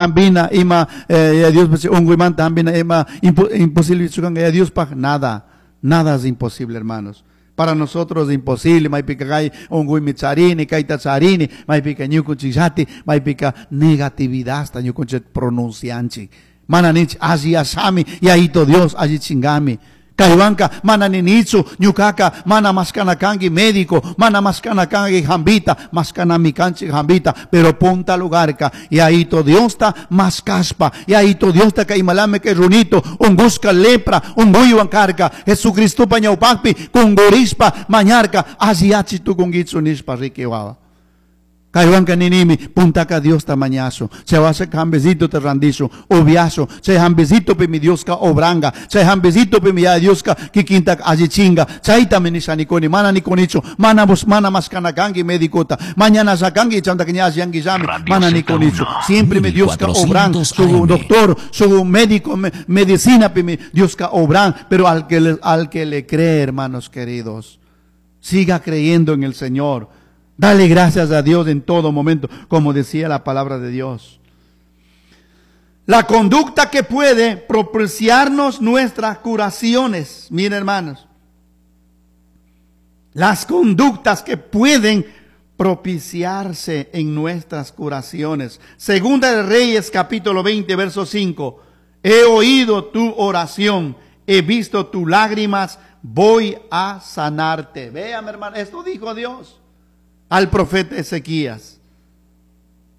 Hambina ima Yaya Diospaj ungüimanta hambina ima imposible kanga Yaya Diospaj? Nada, nada es imposible, hermanos. Para nosotros es imposible, maypika kay ungüimi charini, kayta charini, maypika ñukunchikllati, maypika negatividadta ñukunchik pronuncianchik. Mana ninchik alliyashami, Yayito Dios allichingami. Kaywanka mana ninichu ñukaka mana mashkana kanki médico, mana mashkana kanki hambita, mashkanami kanchik hambita, pero punta lugarka Yayito Diosta mashkashpa, Yayito Diosta kay imalame kay runito, ungushka lepra, unguywan karka, Jesucristopa ñawpakpi kungurishpa mañarka, alliyachi tukunkichu nishpa riki wawa. Kaywanka ninimi, puntaka Diosta mañazo, chay washa hambecito te randizo, upiasho, chay hambecito pi mi Dioska obranga, chay hambecito pi mi ya Dioska kikinta allichinga, chayta mi nishanikuni, mana nikunichu, mana bus, mana mashkana kanki medicota, mañana sakanki, chanta que ña yangi llami, Radio mana nikunichu. Z1, Siempre mi Dioska obran, 1400 su AM. doctor, su médico, medicina pi mi Dioska obran, pero al que le cree, hermanos queridos, siga creyendo en el Señor. Dale gracias a Dios en todo momento, como decía la palabra de Dios. La conducta que puede propiciarnos nuestras curaciones. Miren, hermanos, las conductas que pueden propiciarse en nuestras curaciones. Segunda de Reyes, capítulo 20, verso 5. He oído tu oración, he visto tus lágrimas, voy a sanarte. Véame, hermano, esto dijo Dios al profeta Ezequías.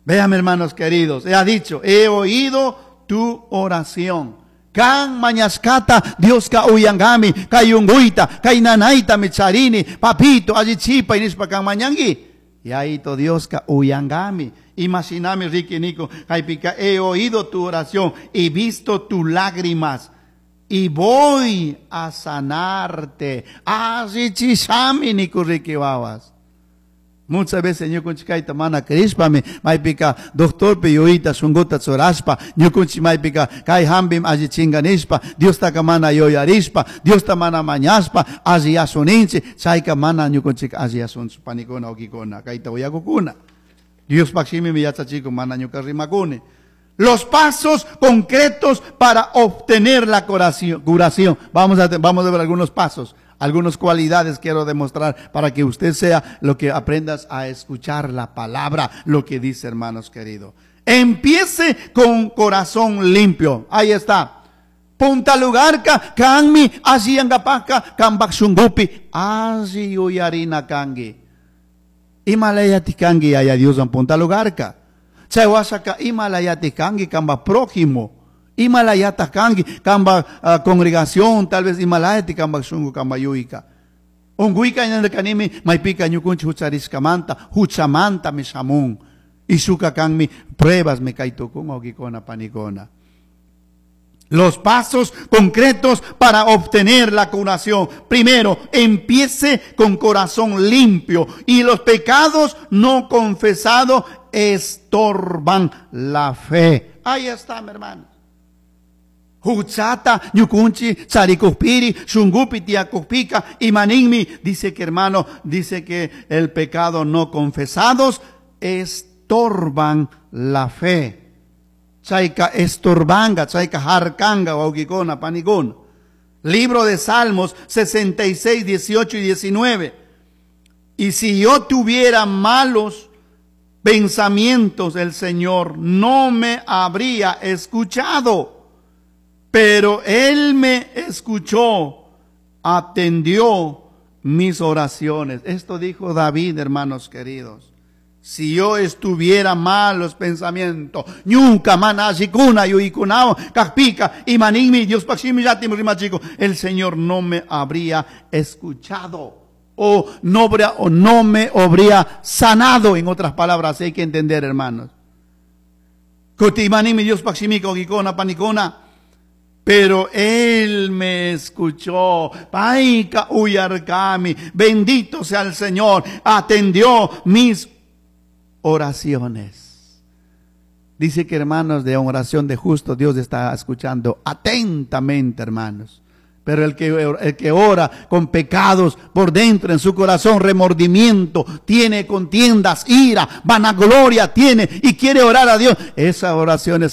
Véame, hermanos queridos, he dicho, he oído tu oración. Kan mañascata, Dios ka uyangami, kayunguita, kainanaita micharini, papito, allichipa, inispa kan mañangui. Y ahí to Dios ka uyangami. Imaginame, Ricky Nico, kaipica, he oído tu oración, he visto tus lágrimas, y voy a sanarte. Allichishami, Nico Ricky Babas. Muchas veces ñukunchik kayta mana crishpami, maypika doctorpi yuyita shunguta churashpa, ñukunchik maypika kay hambim allichinga nishpa, Diostaka mana yuyarishpa, Diosta mana mañashpa, alliyasuninchik, chayka mana ñukunchik alliyasunchu, panikuna, wawkikuna, kayta uyakukuna. Diospaj shimimi yachachikun, mana ñuka rimakuni. Los pasos concretos para obtener la curación. Vamos a ver algunos pasos. Algunas cualidades quiero demostrar para que usted sea lo que aprendas a escuchar la palabra, lo que dice, hermanos queridos. Empiece con corazón limpio. Ahí está. Punta lugarka, kanmi, así angapaka, kambak shungupi, así uyarina kangi. Imalayati kangi, ay Dios en punta lugarka. Chay wasaka, imalayati kangi, kamba prójimo. Imalayata kangi, kamba congregación, tal vez imalayati kamba shungu, kamba yuika. Unguika ñandekanimi, maipika ñukunchi huchariskamanta, huchamanta mishamun. Isuka kanmi, pruebas me kaitukun, ogikona, panikona. Los pasos concretos para obtener la curación. Primero, empiece con corazón limpio y los pecados no confesados estorban la fe. Ahí está, mi hermano. Huchata, ñukunchi, charikupiri, shungupi, tiakupika, y maninmi. Dice que, hermano, dice que el pecado no confesados estorban la fe. Chaika estorbanga, chaika harkanga, waukikona, panikona. Libro de Salmos 66, 18 y 19. Y si yo tuviera malos pensamientos, el Señor no me habría escuchado. Pero Él me escuchó, atendió mis oraciones. Esto dijo David, hermanos queridos. Si yo estuviera malos pensamientos, ñuka mana shikuna yuikunao, kakpika, y manimi, Dios pakshimi yatim rimachico, el Señor no me habría escuchado o no me habría sanado. En otras palabras, hay que entender, hermanos. Kuti manimi, Dios pakshimi, ogikona, panikona. Pero Él me escuchó. Paika uyarkami. Bendito sea el Señor. Atendió mis oraciones. Dice que, hermanos, de oración de justo, Dios está escuchando atentamente, hermanos. Pero el que, el que ora con pecados por dentro en su corazón, remordimiento, tiene contiendas, ira, vanagloria tiene y quiere orar a Dios, esas oraciones.